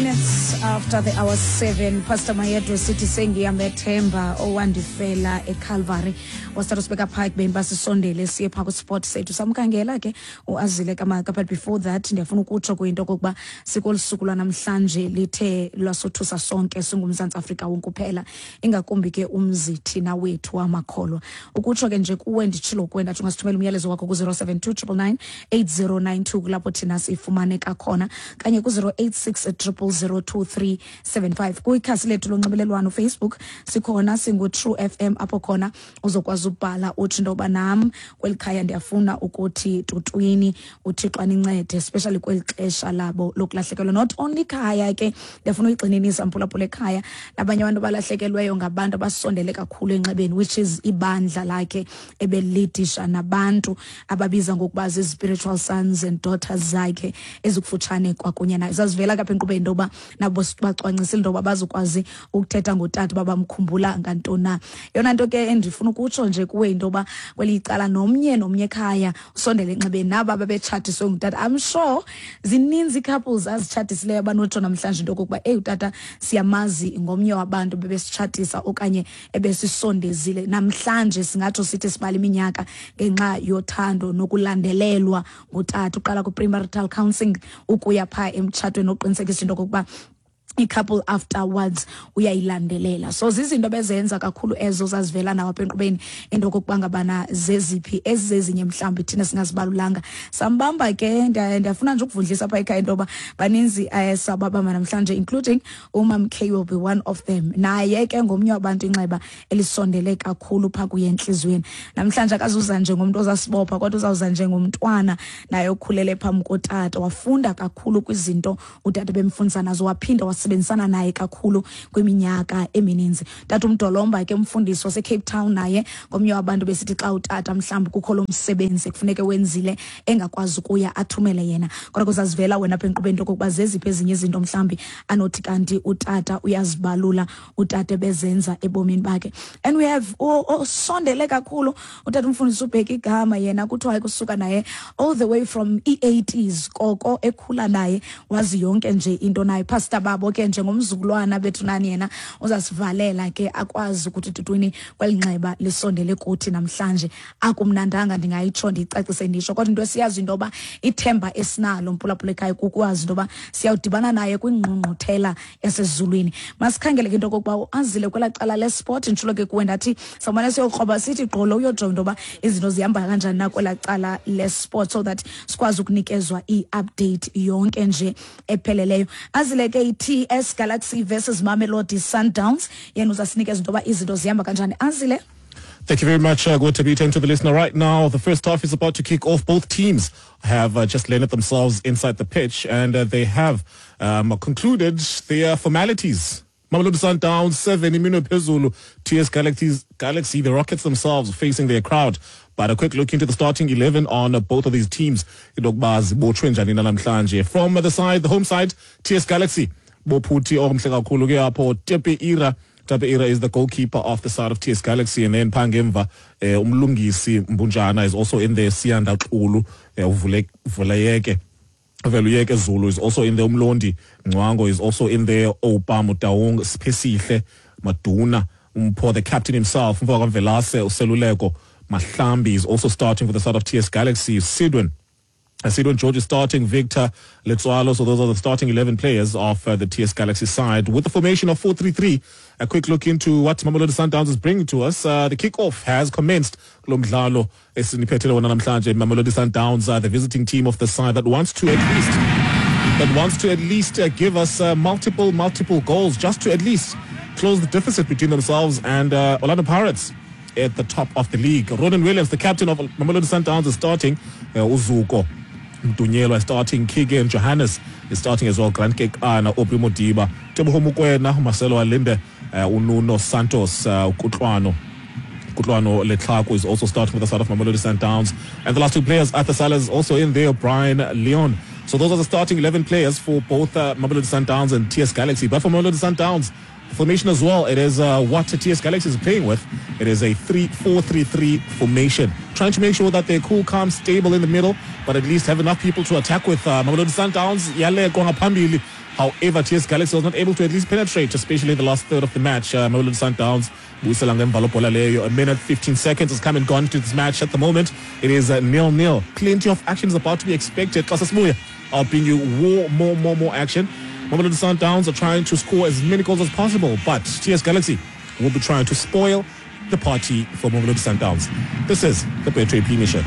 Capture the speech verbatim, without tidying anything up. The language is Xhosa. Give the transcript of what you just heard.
Minutes after the hour seven, Pastor Mayedo sithi sengiyamethemba owandifela eCalvary. Wasithatha sibeka phaa ekubeni basisondele siye phaa kwisport sethu. Samkhangela ke uAzile Kamaka, but before that ndiyafuna ukutsho kuyinto okokuba sikolu suku lwanamhlanje lithe lwasothusa sonke singuMzantsi Afrika wonke uphela, ingakumbi ke umzi thina wethu wamakholwa. Ukutsho ke nje kuwe, nditshilo kuwe ndathi ungasithumela umyalezo wakho ku-zero seven two nine nine nine eight zero nine two, kulapho thina sifumaneka khona, kanye ku-zero eight six triple zero two three seven five. Kwikhasi lethu lonxibelelwano Facebook sikhona singu-True F M, apho khona uzokwazi ubhala utsho into yoba nam kweli khaya ndiyafuna ukuthi tutwini, uThixo anincede, especially kweli xesha labo lokulahlekelwa. Not only ikhaya ke, ndiyafuna uyigxininisa, mphulaphula, ekhaya nabanye abantu abalahlekelweyo ngabantu abasondele kakhulu enxebeni, which is ibandla lakhe ebelidisha nabantu ababiza ngokuba zii-spiritual sons and daughters zakhe ezikufutshane kwakunye naye. Zazivela kapha enkqubeni into yoba nabo bacwangcisile into yoba bazokwazi ukuthetha ngotata uba bamkhumbula ngantoni na. Yona nto ke endifuna ukutsho nje kuwe into yoba kweli icala nomnye nomnye ekhaya usondele enxebeni naba babetshatiswe ngutata. I'm sure zininzi ii-couples azitshatisileyo abanotsho namhlanje into okokuba eyi, utata siyamazi, ngomnye wabantu bebesitshatisa okanye ebesisondezile. Namhlanje singatsho sithi sibala iminyaka ngenxa yothando nokulandelelwa ngutata, uqala kwi-premarital counselling ukuya phaa emtshatweni, oqinisekisa into okokuba i-couple afterwards uyayilandelela. So zizinto bezenza kakhulu ezo zazivela nawo apha enkqubeni, into okokuba ngabana zeziphi ezizezinye mhlawumbi thina singazibalulanga. Sambamba ke, ndiyafuna nje ukuvundlisa apha ekhaya into yoba baninzi um sababamba namhlanje, including umam K will be one of them. Naye ke ngomnye wabantu inxeba elisondele kakhulu phaa kuye entliziyweni. Namhlanje akazuza njengomntu ozasibopha, kodwa uzawuza njengomntwana naye okhulele phambi kotata, wafunda kakhulu kwizinto utata bemfundisa nazo, waphinda wasebenzisana naye kakhulu kwiminyaka emininzi. Tata uMdolomba ke, umfundisi waseCape Town, naye ngomnye wabantu besithi xa utata mhlawumbi kukho lo msebenzi kufuneke wenzile engakwazi ukuya, athumele yena. Kodwa kuzazivela wena apha enkqubeni into okokuba zeziphi ezinye izinto mhlawumbi anothi kanti utata uyazibalula utata bezenza ebomini bakhe. And we have osondele kakhulu utata umfundisi uBheka igama, yena kuthiwa kusuka naye all the way from i-eighties koko ekhula naye, wazi yonke nje into naye. Pastor babo ke njengomzukulwana bethu nani, yena uzasivalela ke akwazi ukuthi tutwini kweli nxeba lisondele kuthi namhlanje. Akumnandanga, ndingayitsho ndiyicacise ndisho, kodwa into esiyazi into yoba ithemba esinalo, mphulaphula ekhaya, kukwazi into yoba siyawudibana naye kwingqungquthela yasezulwini. Masikhangele ke into okokuba uAzile kwelaa cala lesport. Nditshilo ke kuwe ndathi sawumane siyokroba sithi gqolo uyojonga into yoba izinto zihamba kanjani na kwelaa cala lesport, so that sikwazi ukunikezwa i-update yonke nje epheleleyo. Azile ke, i-T S Galaxy versus Mamelodi Sundowns, yena uzasinikeza into yoba izinto zihamba kanjani. Azile. Thank you very much, uh, Gotabita, and to the listener right now. The first half is about to kick off. Both teams have uh, just landed themselves inside the pitch and uh, they have um, concluded their formalities. Mamelodi Sundowns seven, iminwe phezulu. T S Galaxy, Galaxy, the Rockets themselves facing their crowd. But a quick look into the starting eleven on uh, both of these teams. From the side, the home side, T S Galaxy. Bophuthi omhle kakhulu ke apho, Tepe Ira. Tepe Ira is the goalkeeper of the side of T S Galaxy, and then phangemva eh, uMlungisi Mbunjana is also in there. Siyanda Xulu, eh, uvule vuleyeke Veluyeke Zulu is also in there. Umlondi Ngcwango is also in there. Opa Mutaung, Siphesihle Maduna, Umpho, the captain himself, Mfaka Mvelase, Useluleko Mahlambi is also starting for the side of T S Galaxy. Sidwin Sidon George is starting, Victor Letsoalo. So those are the starting eleven players of uh, the T S Galaxy side. With the formation of four three three, a quick look into what Mamelodi Sundowns is bringing to us. Uh, the kickoff has commenced. Kulo mdlalo esiniphethele wona namhlanje, Mamelodi Sundowns are the visiting team of the side that wants to at least that wants to at least uh, give us uh, multiple, multiple goals just to at least close the deficit between themselves and uh, Orlando Pirates at the top of the league. Ronwen Williams, the captain of Mamelodi Sundowns, is starting. Uh, Uzuko Mdunyelwa is starting. Keegan Johannes is starting as well. Grant Kekana, Aubrey Modiba, Teboho Mokoena, Marcelo Allende, uh, Ununo Santos, uh, Kutlwano. Kutlwano Letlhaku is also starting with the side of Mamelodi Sundowns. And the last two players, Arthur Salas is also in there, Brian Leon. So those are the starting eleven players for both uh, Mamelodi Sundowns and T S Galaxy. But for Mamelodi Sundowns, the formation as well, it is uh, what T S Galaxy is playing with. It is a three four three three formation. Trying to make sure that they're cool, calm, stable in the middle, but at least have enough people to attack with. Uh, Mamelodi Sundowns, yale ngaphambili. However, T S Galaxy was not able to at least penetrate, especially in the last third of the match. Uh, Mamelodi Sundowns, buyisela ngemva lobhola leyo. A minute fifteen seconds has come and gone to this match at the moment. It is uh, nil-nil. Plenty of action is about to be expected. Xa sesibuya, I'll bring you more, more, more, more action. Mamelodi Sundowns are trying to score as many goals as possible, but T S Galaxy will be trying to spoil the party for Mamelodi Sundowns. This is the Betway Premiership.